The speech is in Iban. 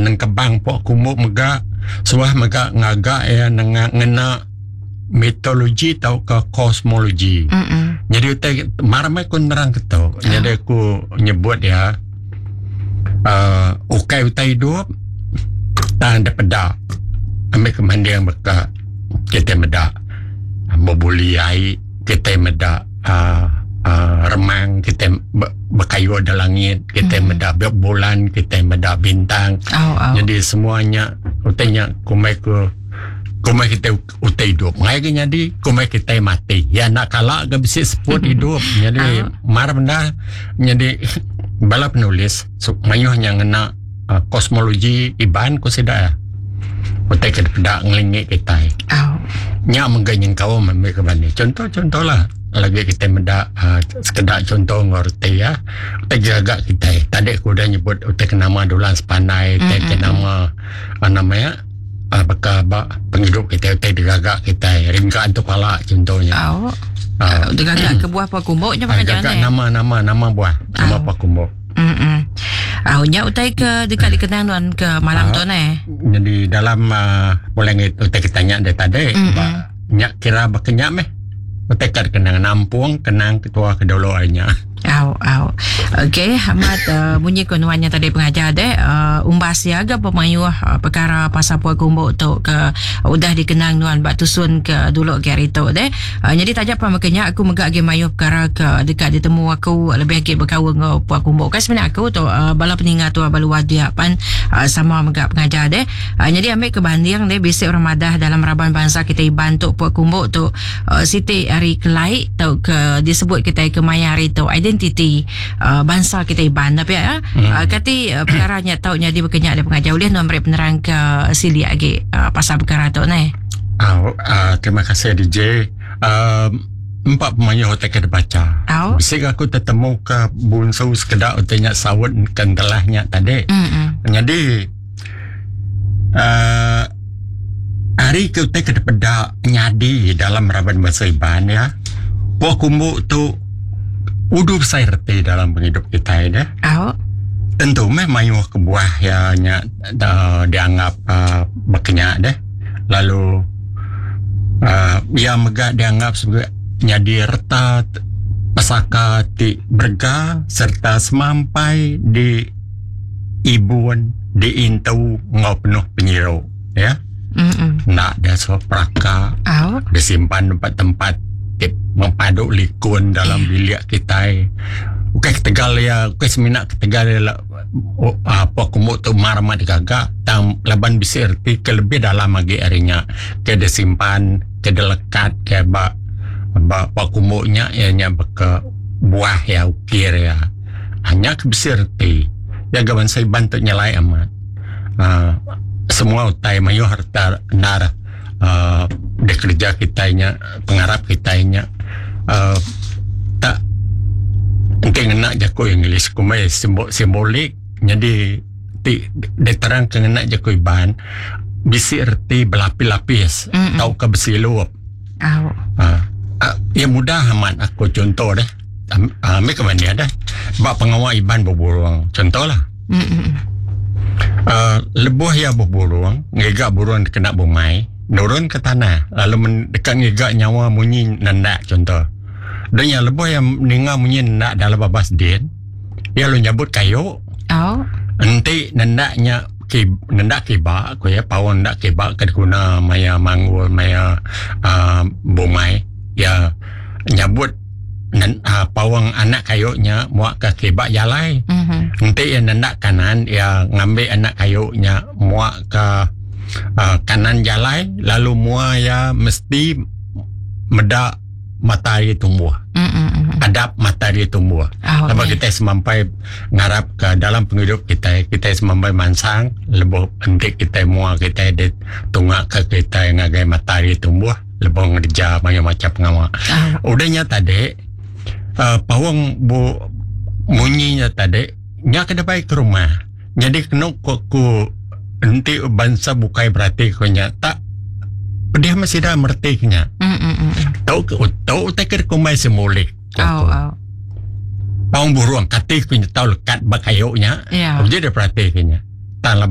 nengkebang pok kumbu mega suah mega ngaga iya nengah ngena mitologi tauka kosmologi. Mm-mm. Jadi utai mar meh ku nerang ke tu. Jadi aku nyebut iya uh, ukai utai hidup tang dipeda ambi ke manding baka kitai meda bebuli ai kitai meda uh, uh, remang kitai bekayu da langit kitai meda bulan kitai meda bintang. Au au. Jadi semua nya utai nya kumbai ku kumbai kitai utai idup ngai ke nyadi kumbai kitai mati ya enda kala ke bisi seput idup nyadi mar bendar nyadi bala penulis mayuh nya ngena uh, kosmologi Iban ku sida ya utai ke dipeda ngelingi kitai nya mega nyengkaum ambi ke bani contoh-contoh lah lagi kitai meda uh, sekeda contoh enggau reti ya utai gaga kitai tadi aku udah nyebut utai ke nama Dulang Sepandai utai ke nama uh, nama ya uh, baka ba pengidup kitai utai digaga kitai ringka antu pala contohnya. Au. Uh, Digaga ke buah pua kumbu nya uh, pengajar gaga ne. nama nama nama buah nama Au. pua kumbu. Mm. Au nya utai ke deka dikenang nuan ke malam Ah. tu ne. Jadi dalam uh, boleh ngi utai kita nya dia tadi Mm-mm. ba nya kira baka nya meh. Utai ke kenang nampung kenang ketua ke dulu ari nya. Au au. Okey, amat uh, munyi ko nuan nya tadi pengajar deh uh, umbas ya ga pemayuh uh, perkara pasal pua kumbu tu ke udah dikenang nuan ba tusun ke dulu ke hari tu deh. Uh, jadi taja pan baka nya aku mega agi mayuh perkara ke deka ditemu aku lebih agi bekaul enggau pua kumbu. Kan sebenarnya aku tu uh, bala peninga tu ba luar dia pan uh, sama mega pengajar deh. Uh, jadi ambil ke banding deh bisi orang madah dalam raban bansa kita Iban tu pua kumbu tu uh, siti ari kelai tauka disebut kitai ke maya hari tu identiti uh, bansa kita Iban tapi ya hmm. uh, kati uh, perkara nya tau nyadi bekenya dia pengajar ulih nuan meri penerang ke silik agi uh, pasal perkara tu neh. Uh, uh, terima kasih DJ. Uh, empat pemayuh utai ke dibaca. Au. Bisi aku tetemu ke bunsu sekeda utai nya saut ke entelah nya tadi. Mm-mm. Jadi uh, ari ke utai ke dipeda nyadi dalam raban bansa Iban ya. Pua kumbu tu udu besai reti dalam pengidup kitai deh. Au. Tentu meh mayuh kebuah ya nya uh, dianggap uh, bekenya deh. Lalu uh, ia mega dianggap sebagai nyadi reta pesaka ti berega serta semampai di ibun diintu enggau penuh penyiru ya. Mm-mm. Enda dia suah peraka Au. disimpan tempat-tempat ti mempadu likun dalam bilik kitai. Bukan ketegal ya, bukan semina ketegal ya la, oh, apa kumbu tu mar amat digaga tang laban bisi erti ke lebih dalam agi ari nya ke disimpan ke dilekat ke ba ba pa kumbu nya iya nya baka buah ya ukir ya. Nya ke bisi reti. Ya ga bansa Iban tu nyelai amat. Uh, semua utai mayuh reta endar uh, dikereja kitai nya, pengarap kitai nya uh, tak enti ngena jaku English kumbai simbolik nyadi ti diterang ke ngena jaku Iban bisi reti belapis-lapis Mm-mm. tauka besilup. Au. Uh, uh, ya mudah amat aku contoh deh. Ambil ke mana dah. Ba pengawa Iban beburung. Contoh lah. Mm-mm. Lebuh iya beburung, ngiga burung dikena bumai, nurun ke tanah lalu men, deka ngiga nyawa munyi nendak contoh. Dan iya lebuh iya ninga munyi nendak dalam babas din, iya lalu nyabut kayu. Au. Enti nendak nya ki, nendak kiba, ku iya paung nendak kiba ke diguna maya manggul maya uh, bumai, iya nyabut nen, uh, paung anak kayu nya muak ke kiba jalai. Mhm. Enti iya nendak kanan, iya ngambi anak kayu nya muak ke uh, kanan jalai lalu mua iya mesti meda matahari tumbuh. Mm-mm. Adap matahari tumbuh. Au. Laban kita semampai ngarap ke dalam pengidup kita, kita semampai mansang lebuh enti kita mua kita ditunga ke kita ngagai matahari tumbuh lebuh ngerja mayuh macam pengawa. Au. Udah nya tadi uh, paung bu munyinya tadi nya kena baik ke rumah. Jadi kena ku, ku enti bansa bukai berarti ku nya tak pedih mesti dah merti ke nya. Mm-mm. Tau ke tau utai ke kumbai simbolik. Au au. Paung burung kati ku nya tau lekat ba kayu nya. Ya. Uji dia perhati ke nya. Tang laban